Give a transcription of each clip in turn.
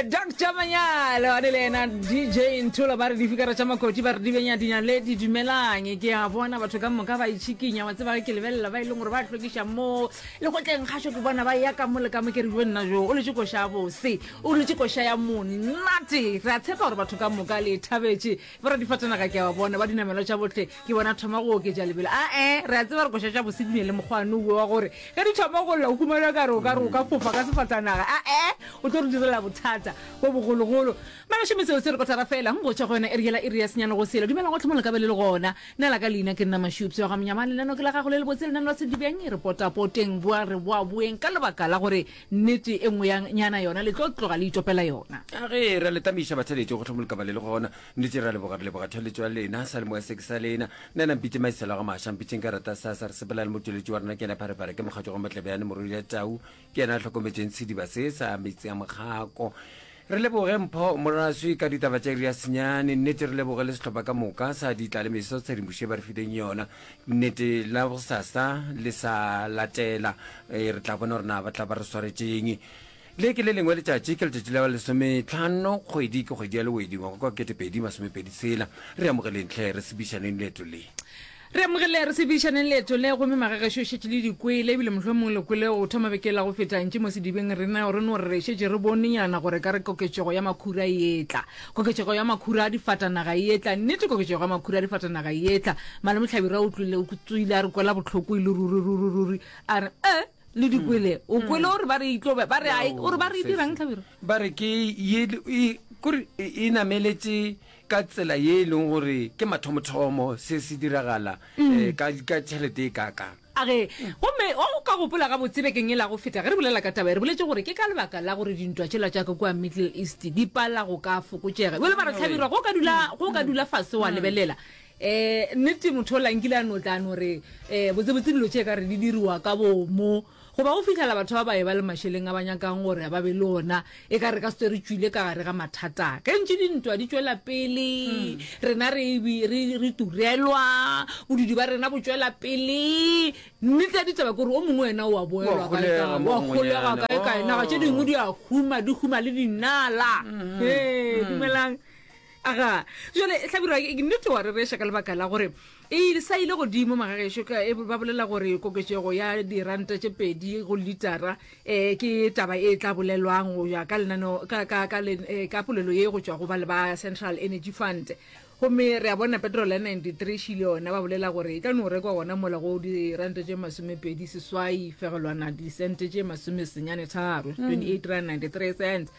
Dr Manyalo a le yena DJ Nthola ba re difikara tša makoti ba re di benya dinaledi dumelang ke a bona batho ka moka ba itšhikinya wa tseba ge ke lebelela ba e leng gore ba hlwekiša mo lekgotleng kgašo ke bona ba ya ka mo le ka mo ke re jo nna jo o letše koša ya bose o letše koša ya monate re a tshepa gore batho ka moka le e thabetše Boradifatanaga ke a ba bona, ba dinamelwa tša bohle ke bona thoma go oketša lebelo. A-e, re a tseba gore koša tša bose di ne le mokgwano wo wa gore ge di thoma go lla o humana ka re o ka re o ka fofa ka sefatanaga. A-e, o tlo re direla bothata bo bogologolo. Magasho metseo se re kotara fela go tšwa go yona iri yela iri ya senyane go sela. Dumelang gohle mo le ka be le le gona. Nna la ka leina ke nna Mashupse wa ga Monyamane. Lenaneo ke la gago le lebotse, lenaneo la Sedibeng. Re potapoteng, boa re boaboeng ka lebaka la gore Nnete e nngwe ya nyana yona le tlo tloga le itopela yona. A ge re a le tamiša batheeletši gohle mo le ka ba le le gona. Nnete re a leboga, re leboga theeletšo ya lena, seyalemoya se ke sa lena. Nna na mpitše Maisela ga Maša, mpitšeng ka rata sasa. Re sepela le motšweletši wa rena ke yena Pharephare, ke mokgatšo ga Motlebjane, morwedi ya Tau, ke yena a hlokometšeng sediba se sa metsi a mokgako. Re leboge Mpho Moraswi ka ditaba tša iri ya senyane. Nnete re leboge le sehlopha ka moka sa Ditlalemeso tshedimošo ye ba re fileng yona. Nnete la bosasa le sa latela e, re tla bona gore na ba tla ba re swaretšeng. Le ke le lengwe letšatši, ke letšatši la lesometlhano kgwedi, ke kgwedi ya Lewedi ngwaga kwa 2026. Re amogeleng hle, re sebišaneng leeto le. Re amogele re sebišaneng leeto le, gomme magagešo šetše le di kwele, ebile mohlomongwe le kwele go thoma beke la go feta ntši mo sedibeng rena re no re šetše re bonenyana gore ka re koketšego ya makhura e etla. Koketšego ya makhura a difatanaga e etla. Nnete koketšego ya makhura a difatanaga e etla. Malome Hlabirwa o tlile, o tsoile a re kwela bohloko e le ruri, ruri, ruri. A re, E, le di kwele. O kwele gore ba re e tlo ba, ba re a e, o re ba re e dirang Hlabirwa? Ba re ke ye, e, kore e nameletše ka tsela ye e leng gore ke mathomothomo se se diragala um ka, ka tšhelete e kaakang. A re, Gomme o ka gopola gabotse bekeng yela go feta ge re bolela ka taba ye, re boletše gore ke ka lebaka la gore dintwa tšela tša ka kua Middle East di pala go ka fokotšega. Bjale ba re, Hlabirwa, ge o ka dula, ge o ka dula fase wa lebelela, um nnete motho ola nkile a no tla a no re, um botsebotse dilo tše e ka re di diriwa ka bomo. Goba go fihlela batho ba ba eba le mašeleng a ba nyakang gore ba be le ona, e ka re ka se re tšwile ka gare ga mathata. Ge ntše dintwa di tšwela pele, rena re, re, re turelwa, bodudi ba rena bo tšwela pele. Nnete ya ditaba ke gore o mongwe yena o a boelwa kae kae, wa holega kae kae. Naga tše dingwe di a huma, di huma le dinala. Hee, dumelang. Aga, jale Hlabirwa, ke nnete wa rereša ka lebaka la gore e sa ile godimo magagešo ka e ba bolela gore koketšego ya diranta tše pedi go litara um ke taba e tla bolelwang go ya ka lenaneo ka ka ka eh, ka polelo ye go tšwa go ba le ba Central Energy Fund. Gomme re a bona petrol ya 93 šile yona ba bolela gore e tla no rekwa gona mola go diranta tše masomepedi seswai fegelwana disente tše masomesenyane tharo 28 rand 93 cents.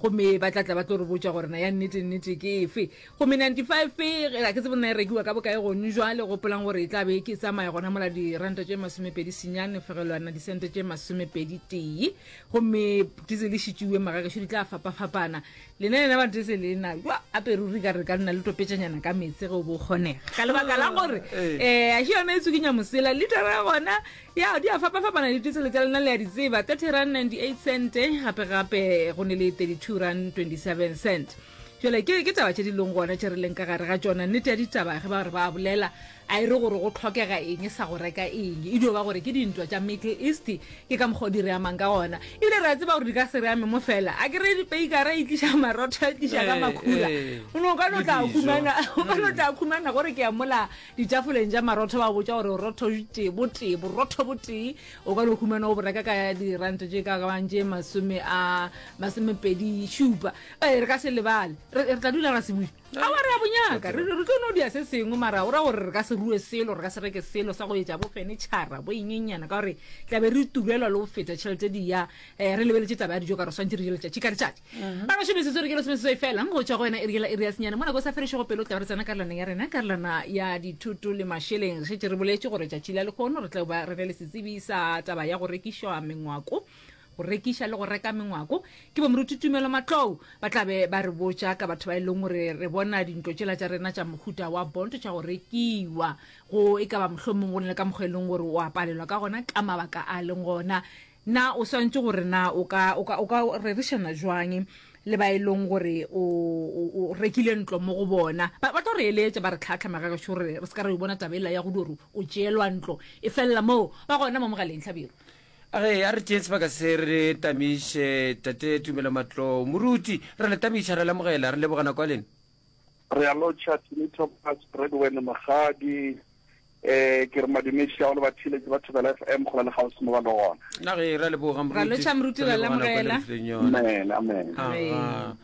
Gomme ba tla tla ba tlo re botša gore na ya nnete nnete ke efe. Gomme 95 ga ke tsebe na e rekiwa ka bokae gone jwale, gopolang gore e tla be ke tsamaya gona mola diranta tše masomepedi senyane fegelwana disente tše masomepedi tee. Gomme diesel e šitšiwe magagešo di tla fapafapana. Lena lena ba diesel e na jwa ape ruri ka re ka nna le topetšanyana ka meetse ge o bo kgonega. Ka lebaka la gore eh a še yona e tswikinya mosela litara ya gona Ya, di a fapafapana diteselo tša lena le a di tseba, 30 rand 98 cent, gape gape go ne le 32 rand 27 cent. Jale ke ke taba tše di leng gona tše re leng ka gare ga tšona. Nnete ya ditaba ge ba re ba bolela a e re gore go tlhokega eng sa go reka eng, e dio ba gore ke dintwa tša Middle East ke ka mokgwa o di re amang ka gona. Ebile re a tseba gore di ka se re ame mo fela. A ke re peikara e tliša marotho, e tliša ka makhura. O no ka no tla khumana, o ka no tla khumana gore ke ya mola Ditafoleng tša marotho ba botša gore borotho tee botee, borotho botee o ka no humana o bo reka ka diranta tše ka bang tše masome a masomepedi šupa. Ee, re ka se lebale, re, re tla dula ra se buša. Aowa, re a bo nyaka, re, re tlo no dia se sengwe, mara o ra gore re ka se rue selo, re ka se reke selo sa go etša bo fenitšhara bo engenyana, ka gore tla be re turelwa le go feta tšhelete di ya. Eh, re lebeletše taba ya dijo ka re swantše re je letšatši ka letšatši. Ba gašo metsotso re ke lesomeseswai fela go tšwa go wena iri yela iri ya senyane mo nako e sa fedišego pelo tla be re tsena karolwaneng ya rena karolwana ya dithoto le mašeleng. Re šetše re boletše gore tšatši la lehono re tla ba re ne le setsebi sa taba ya go rekišwa mengwako go rekiša le go reka mengwako ke bomoruti Tumelo Matlou ba tla be ba re botša ka batho ba e leng gore re bona dintlo tšela tša rena tša mohuta wa bonto tša go rekiwa go e ka ba mohlomong go ne le ka mokgwa e leng gore o a palelwa ka gona ka mabaka a leng gona Na o swanetše gore na o ka, o ka, o ka rerišana jwang le ba e leng gore o, o, o rekile ntlo mo go bona? Ba, ba tlo re eletša, ba re tlhahla magagešo gore re se ka ra yo bona taba ela ya go dio re o tšeelwa ntlo e felela moo. Ba gona mo mogaleng, Hlabirwa. A ge a re tšeeng sebaka se re tamiše Tate Tumelo Matlou. Moruti, re le tamiša, re lamogela, re leboga nako ya lena. Re a lotšha Timi Thomas, Bradwen Mokgadi, eh ke re madumeši ao le batheeletši ba Thobela FM kgole le kgauswi mo ba le gona. Na ge ra leboga Ra moruti. lotšha moruti, Re ra leboga nako e le lamogela. re fileng yona. Amen, amen. Aga.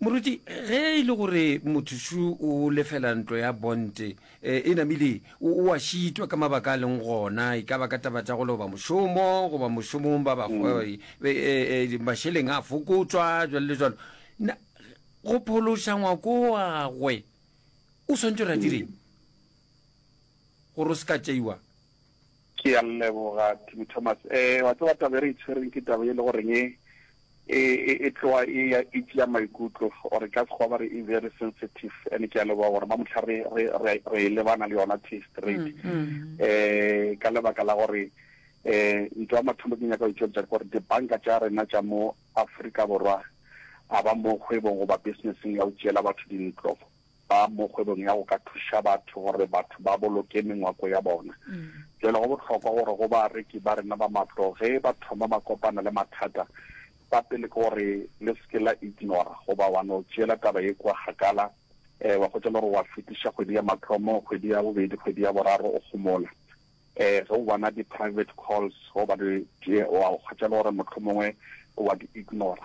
Moruti, ge e le gore motho šo o lefela ntlo ya bonte, e, e namile o, o a šitwa ka mabaka a leng gona, e ka ba ka taba tša go loba mošomo goba mošomong ba ba, e, e, e, mašeleng a fokotšwa, jwalo le jwalo. Na, go phološa ngwako wa gagwe, o swantše gore a direng gore o se ka tšeiwa? Ke a leboga, Timi Thomas. Eh, wa tseba taba e re e tshwereng ke taba e le goreng e, e, e, e tloga e ya e tšea maikutlo or ka sekgowa ba re e very sensitive and ke a leboga gore mamotlha re, re, re, re e lebana le yona tee straight. Eh, ka lebaka la gore eh ntho ya mathomo ke nyaka go e tšweletša ke gore dibanka tša rena tša mo Afrika Borwa a ba mo kgwebong goba businesseng ya go tšeela batho dintlo. Ba mo kgwebong ya go ka thuša batho gore batho ba boloke mengwako ya bona. Bjale go bohlokwa gore go bareki ba rena ba matlo ge ba thoma ba kopana le mathata, sa pele ke gore le se ke la ignora goba wa no tšeela taba ye kua kgakala, wa hwetša le gore wa fetiša kgwedi ya mathomo, kgwedi ya bobedi, kgwedi ya boraro o homola. Ge o bona di private calls goba di wa hwetša le gore mohlomongwe wa di ignora.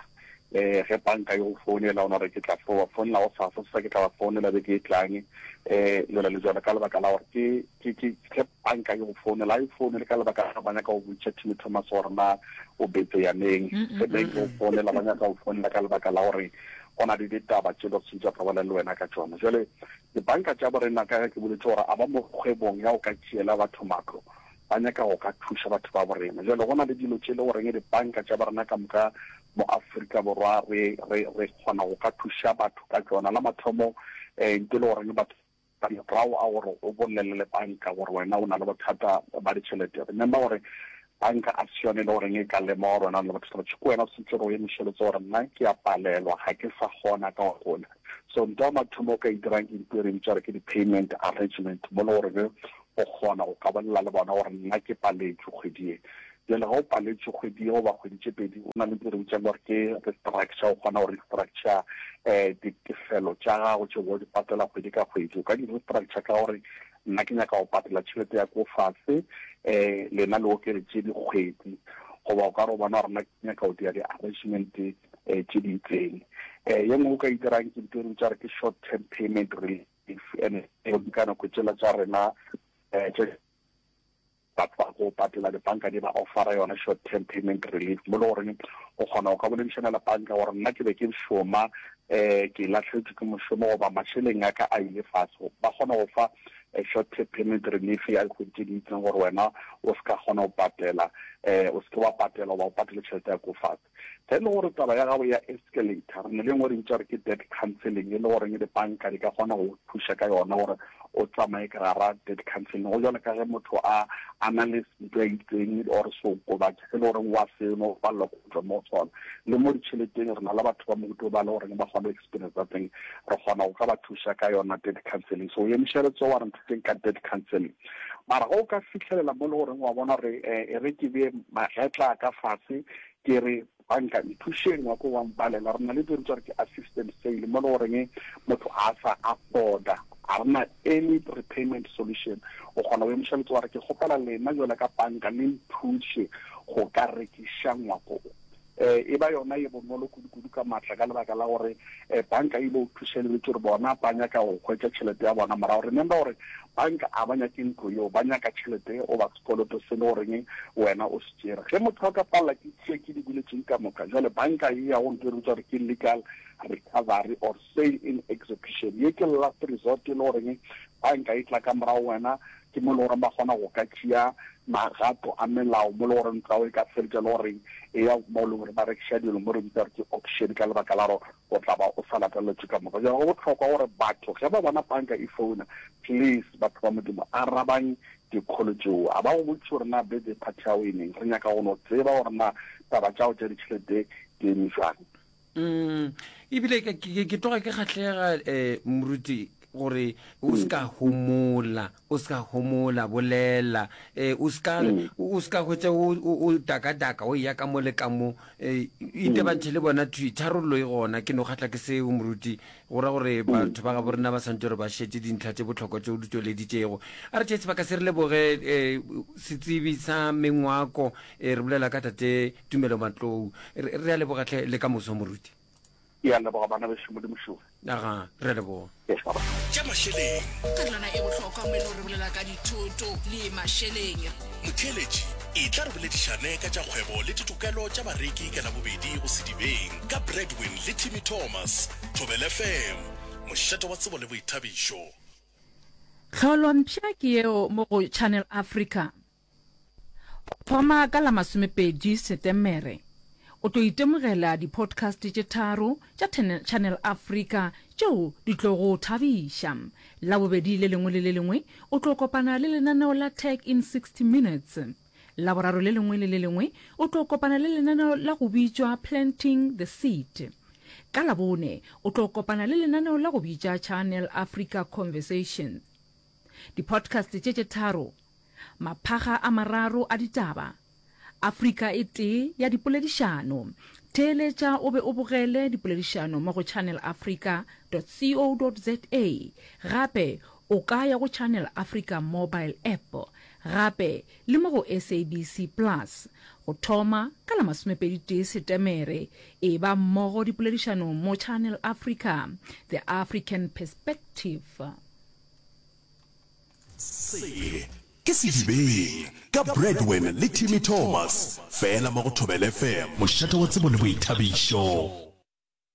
Ge banka e go founela o no re ke tla fo ba founela gosasa, sesa ke tla ba founela beke e tlang, jwalo le jwalo, ka lebaka la gore ke ke ke ge banka e go founela, ga e founele ka lebaka la ba nyaka go botšiša Timmy Thomas gore na o betse ya neng. Ge bank e go founela, ba nyaka go founela ka lebaka la gore go na le ditaba tše ba swanetše ba bolele le wena ka tšona. Jwale Dibanka tša borena ka ge ke boletše gore a ba mo kgwebong ya go ka tšeela batho matlo, ba nyaka go ka thuša batho ba borena. Bjale go na le dilo tše e le goreng dibanka tša borena ka moka mo Afrika Borwa re, re, re kgona go ka thuša batho ka tšona. La mathomo, eh, nto e le goreng batho ba morago a gore o bolele le banka gore wena o na le bothata ba ditšhelete. Remember gore banka a se yone e le goreng e ka lemoga gore wena o na le bothata ba tšhelete. Ke wena o swanetše gore o emiše letsogo gore nna ke a palelwa, ga ke sa kgona ka gola. So ntho ya mathomo o ka e dirang ke ntho e re bitša gore ke di-payment arrangement, mo le gore o kgona go ka bolela le bona gore nna ke paletšwe kgwedi ye. Bjale ge o paletšwe kgwedi ye goba kgwedi tše pedi, o na le ntho e re bitsang gore ke restructure, o kgona go restructure um ditefelo tša gago tše o di patela kgwedi ka kgwedi. O ka di restructure ka gore nna ke nyaka go patela tšhelete ya ko fase um lena le okeletše dikgwedi, goba o ka re o bona gore nna ke nyaka go dira di-arrangement um tše di itseng. Um ye nngwe o ka e dirang ke ntho e re bitsa gore ke short term payment relief, and ka nako tšela tša rena um tše batho ba go patela dibanka di ba offera yona short term payment relief, mo le goreng o kgona go ka boledišana le banka gore nna ke be ke šoma um ke lahletšwe ke mošomo goba mašeleng a ka a ile fase, ba kgona go fa short term payment relief ya dikgwedi tše di itseng gore wena o se ka kgona go patela um o se ke wa patela goba o patele tšhelete ya ko fase. Ge e le gore taba ya gago ya escalator, re na le e nngwe re bitša gore ke debt counselling, e le goreng dibanka di ka kgona go thuša ka yona gore o tsamaye ka gara debt counselling. Go jwalo ka ge motho a a na le ntho e itseng or seokobatši se le goreng wa se nwa, o palelwa ke go tšwa mo go sona. Le mo ditšheleteng re na le batho ba mohuta o ba le goreng ba kgona go experience teng, re kgona go ka ba thuša ka yona debt counselling. So o emiša letsogo wa re nthuseng ka debt counselling. Mara ge o ka fihlelela mo le goreng wa bona gore e re ke bee magetla a ka fase, Ke re, Banka, nthušeng, wa ko wa mpalela. Re na le dilo tša re ke assistant sale, mo le goreng motho a sa afforda, ga re na any repayment solution. O kgona go emiša letsogo wa re, ke kgopela lena jwale ka banka le nthuše go ka rekiša ngwako o. E ba yona ye bonolo kudu-kudu ka matla ka lebaka la gore banka e ile go thuša e lebetše gore bona ba nyaka go hwetša tšhelete ya bona morago. Remember gore banka a ba nyake ntlo yeo, ba nyaka tšhelete goba sekoloto se le goreng wena o se tšere. Ge motho a ka palela ke tše ke di boletšeng ka moka, jwale banka e ya go ntho e re bitsa gore ke legal recovery or sale in execution. Ye ke last resort e le goreng banka e tla ka morago wena, ke mo e le goreng ba kgona go ka tšea magato a melao, mo e le goreng ntlo ya gago e ka feletša e le goreng e ya mo e leng gore ba rekiša dilo, mo re bitsa gore ke auction, ka lebaka la gore o tla ba o sa lateletšwe ka moka. Jwale go bohlokwa gore batho ge ba bona banka e founa, please batho ba Modimo, arabang Dikholo tšeo a ba go botšiše gore na birthday party ya gago e neng. Re nyaka go no tseba gore na taba tša gago tša ditšhelete di eme bjang. Mm, ebile ke, ke, ke tloga ke kgahlega, eh, moruti. gore o se ka homola, o se ka homola, bolela, eh, o se ka, o se ka hwetša o, o, o dakadaka, o eya ka mo le ka mo, eh, itebantšhe le bona thwi, tharollo e gona. Ke no kgahla ke seo, moruti, go ra gore batho ba gabo rena ba swantše gore ba šetše dintlha tše bohlokwa tše o di tšweleditšego. A re tšee sebaka se re leboge, eh, setsebi sa mengwako, eh, re bolela ka Tate Tumelo Matlou. Re, re a leboga hle, le ka moso, moruti. Ke a leboga bana bešo, Modimo šowe. Aga, re a leboga. Yes, baba. Tša mašeleng. Karolwana e bohlokwa mo e le gore re bolela ka dithoto le mašeleng. Motheeletši, etla re boledišane ka tša kgwebo le ditokelo tša bareki ka Labobedi go Sedibeng ka Bradwin le Timmy Thomas, Thobela FM, mošate wa tsebo le boithabišo. Tlholo mpsha ke yeo mo go Channel Africa. Go thoma ka la masomepedi Setemere, o tlo itemogela di-podcast tše tharo tša Channel Africa tšeo di tlo go thabiša. Labobedi le lengwe le le lengwe o tlo kopana le lenaneo la Tech in 60 Minutes. Laboraro le lengwe le le lengwe o tlo kopana le lenaneo la go bitšwa Planting the Seed. Ka Labone o tlo kopana le lenaneo la go bitša Channel Africa Conversations. Di-podcast tše tše tharo Maphaga a mararo a ditaba, Afrika e tee ya dipoledišano. Theeletša o be o bogele dipoledišano mo go channelafrica dot co dot za. Gape o ka ya go Channel Africa mobile app gape le mo go SABC Plus. Go thoma ka la masomepeditee Setemere, eba mmogo dipoledišanong mo Channel Africa, The African Perspective. Se ke Sedibeng ka Bradwin le Timmy Thomas, fela mo go Thobela FM, mošate wa tsebo le boithabišo.